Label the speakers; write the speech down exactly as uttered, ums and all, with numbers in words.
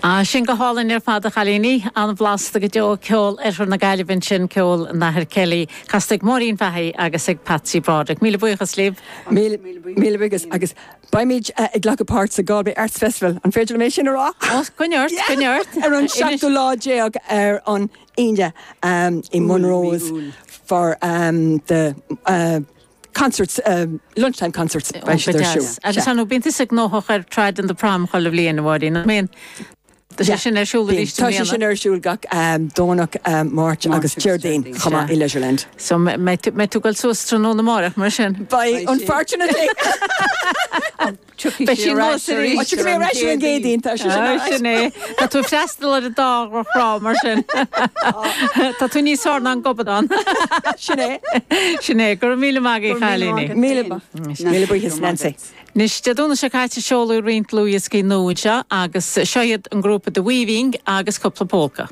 Speaker 1: Ah, sin go hálainn ar fad a chailíní an-bhlasta go deo ceol Oirthear na Gaillimhe sin ceol an Athar Kelly, casta ag Máirín Fahey agus ag Patsy Broderick. Míle buíochas libh.
Speaker 2: Míle buíochas agus beimid uh, ag glacadh páirt sa Galway Arts Festival an féidir mé sin a rá?
Speaker 1: Coinnigh ort coinnigh ort
Speaker 2: ar an seachtú lá déag ar an Aoine um, i Monroe's for um, the uh, concerts um, lunchtime concerts beidh siad ar siúl.
Speaker 1: Agus an bíonn tusa gnóthach ar Trad and the Prom chuile bhliain a Mháirín. Mín Tá sé sin ar siúl arís
Speaker 2: Tá sé sin ar siúl gach um, Domhnach um, Máirt agus Déardaoin chomh maith i Leisureland.
Speaker 1: So mbeidh tú ag dul suas tráthnóna amárach mar sin.
Speaker 2: Beidh unfortunately.
Speaker 1: Beidh sí
Speaker 2: mé reis an gcéadaoin tá sé
Speaker 1: sin é Tá tú freastal ar an dá thrá mar sin. Tá tú níos fearr ná an gobadán.
Speaker 2: Sin é.
Speaker 1: Sin é go míle maith agaibh a chailíní.
Speaker 2: Míle buíochas Nancy.
Speaker 1: Anois Dé Domhnaigh seo caite seoladh roinnt dlúthdhioscaí nua anseo agus seo iad an grúpa The Weaving agus cúpla polca.